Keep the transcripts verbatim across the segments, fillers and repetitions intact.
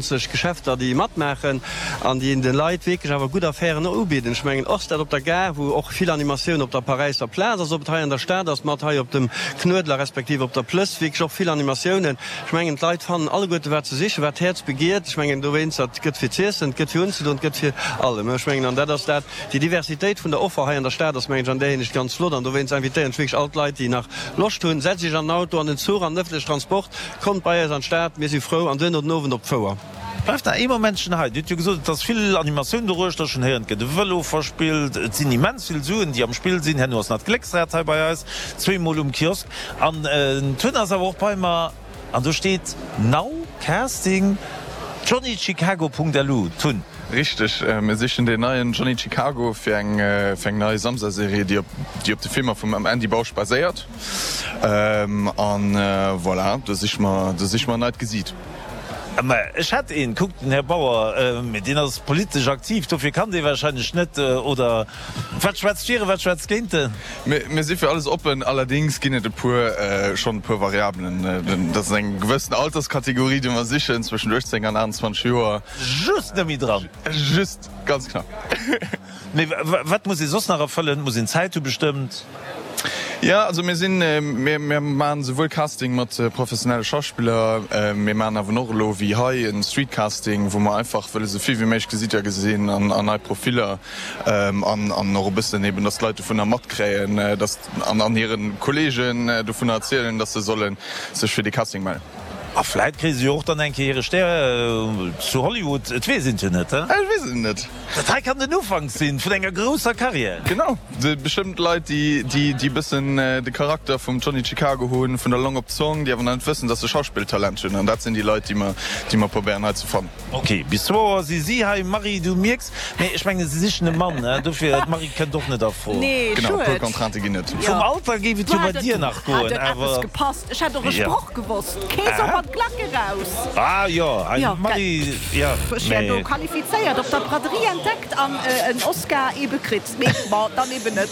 zwanzeg Geschäfter, déi matmaachen an déi de Leit wierklech awer gutt Affären ubidden. Ech mengen, och dat op der Gare, wou och vill Animatioun op der Paräisser Plaz ass, ob et hei an der Stad ass, mat hei op dem Knuedler respektiv op der Plëss, wierklech och vill Animatiounen. Ech mengen, d'Leit fannen alleguerte wat se sichen, wat d'Häerz begiert. Ech mengen, dowéinst, et gëtt fir z'iessen, et gëtt fir unzedoen, et gëtt fir allem. Ech mengen, an dat ass dat, déi Diversitéit vun der Offer hei an der Stad ass, mengen ech, an där Hinsicht ganz flott. An dowéinst invitéieren ech wierklech all d'Leit, déi nach Loscht hunn, Setzt iech an den Auto, an den Zuch, an den ëffentlechen Transport, kommt bei eis an d'Stad, mir si frou, an duerno den Owend op d'Fouer. Bleift nach ee Momentchen hei. Dir hutt jo gesot, et ass vill Animatioun doruechter. Ech hunn héieren, et gëtt e Vëlo verspillt. Et sinn immens vill Suen, déi am Spill sinn. Herno ass nach d'Glécksrad hei bei eis, zweemol um Kiosk. An den Tun ass awer och bei mer. An do steet Now Casting Johnny Chicago Punkt lu. Tun. Richteg, mir sichen deen neien Johnny Chicago fir eng fir eng nei Samsa-Serie, déi op déi op de Filmer vum Andy Bausch baséiert. An voilà, do siche mer do siche mer e neit Gesiit. Mä ech hätt een, kuckt, den Här Bauer, mee deen ass politesch aktiv, dofir kann dee wahrscheinlech net, oder wat schwätzt fir e, wat schwätzt géint en? Mir si fir alles oppen, allerdéngs ginn et e puer, schonn e puer Variabelen. Dat ass eng gewëssen Alterskategorie, déi mer sichen, zwëschen uechtzéng an aachtanzwanzeg Joer. Just net méi dran. Just ganz knapp. Mee wat muss ee soss nach erfëllen? Muss een Zäit hu bestëmmt? Jo, also mir sinn, mir mir maachen esouwuel Casting mat professionelle Schauspiller, mir maachen awer och elo wéi hei e Streetcasting, wou mer einfach wëlle sou vill wéi méiglech Gesitter gesinn an an nei Profiller an an och e bëssen eben, dass d'Leit dovunner matkréien, dass an an hire Kolleegen dovunner erzielen, dass se solle sech fir dee Casting mellen. A vläit kréie se jo och dann eng Kéier hire Stär zu Hollywood, et weess een et jo net, he? Et weess een et net. Dat hei kann den Ufank sinn vun enger grousser Karriär. Genau, bestëmmt Leit, déi déi bëssen de Charakter vum Johnny Chicago hunn, vun der Long op d'Zong, déi awer nach net wëssen, dass se Schauspilltalent hunn. An dat sinn déi Leit, déi mer déi mer probéieren hei ze fannen. Ok, bis zwou Auer si si hei. Marie, du mierks, mee ech mengen, si sichen e Mann, he? Dofir, d'Marie kënnt och net a Fro. Nee, Genau, e puer schued. Contraintë ginn et. Vum Alter géif et jo bei dir nach goen, Hätt et eppes awer. gepasst. Ech hätt och e Sproch gewosst. Kee soll mat Glack eraus. Ah jo, Jo, Marie, jo, ech wär do mee. qualifizéiert, op der Braderie entdeckt an en Oscar ebe kritt. Mee bon, dann eben net.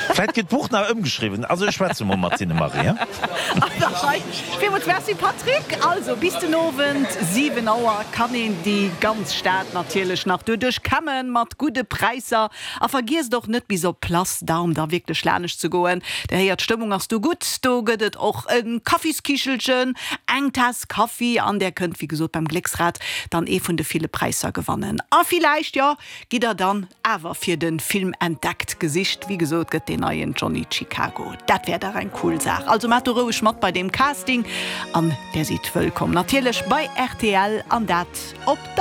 Vläit gëtt d'Buch nach ëmgeschriwwen. Also ech schwätze mol mat hinne, Marie, he? An der Rei. Villmools Merci, Patrick. Also bis den Owend siwen Auer kann een déi ganz Stad natierlech nach doduerch kämmen mat gudde Präisser. A vergiesst och net bis op d'Place d'Armes da wierklech lanescht ze goen. Der héiert, d'Stëmmung ass do gutt. Do gëtt et och e Kaffiskichelchen, eng Taass Kaffi an där kënnt wéi gesot beim Glécksrad dann ee vun de ville Präisser gewannen. A villäicht, jo, gitt der dann awer fir de Film Entdeckt gesicht. Wéi gesot gëtt deen neien Johnny Chicago. Dat wär dach eng cool Saach. Also maacht do roueg mat bei deem Casting an där sidd wëllkomm natierlech bei rtl an dat op der.